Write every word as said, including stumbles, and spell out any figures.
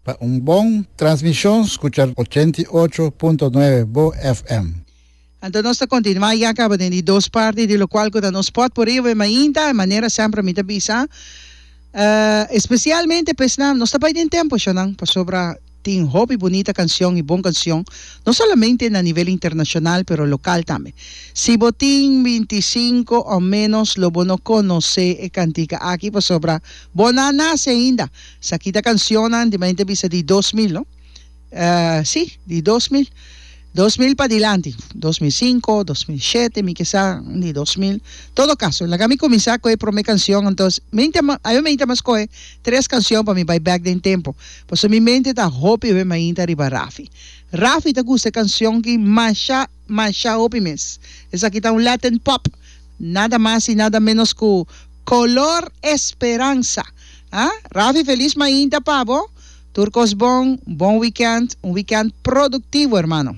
Pa un bon transmishon, skucha ochenta i ocho punto nuebe Bo F M. Anto nos ta kontinuá ya kaba den di dos parti di lokual ku ta nos potpourri mainta, manera semper mi ta bisa. Uh, espesialmente pues na, nos ta bai den tempu, shonan, pasobra tin hopi bunita kanshon i bon kanshon, no solamente na nivel internashonal, pero lokal tambe. Si bo tin bintisinku òf ménos, lo bo no konosé e kantika aki, pasobra bo no a nase ainda. Esaki ta kanshon di mente bisa di dos mil, no? Uh, sí, di dos mil. dos mil pa dilanti, dos mil sinku, dos mil shete, mi ke sa, di dos mil. Todo kaso, laga mi kuminsá ku e promé kanshon, anto, mente, ami mente mas kohe tres kanshon pa mi bai back den tempu. Pasobra mi mente ta hopi be mainta riba Rafi. Rafi ta gusta kanshon ku masha, masha hopi mes. Esaki ta un Latin pop. Nada mas i nada ménos ku Color Esperanza. Ah? Rafi, felis mainta pa bo. Tur kos bon, bon weekend, un weekend produktivo, ruman.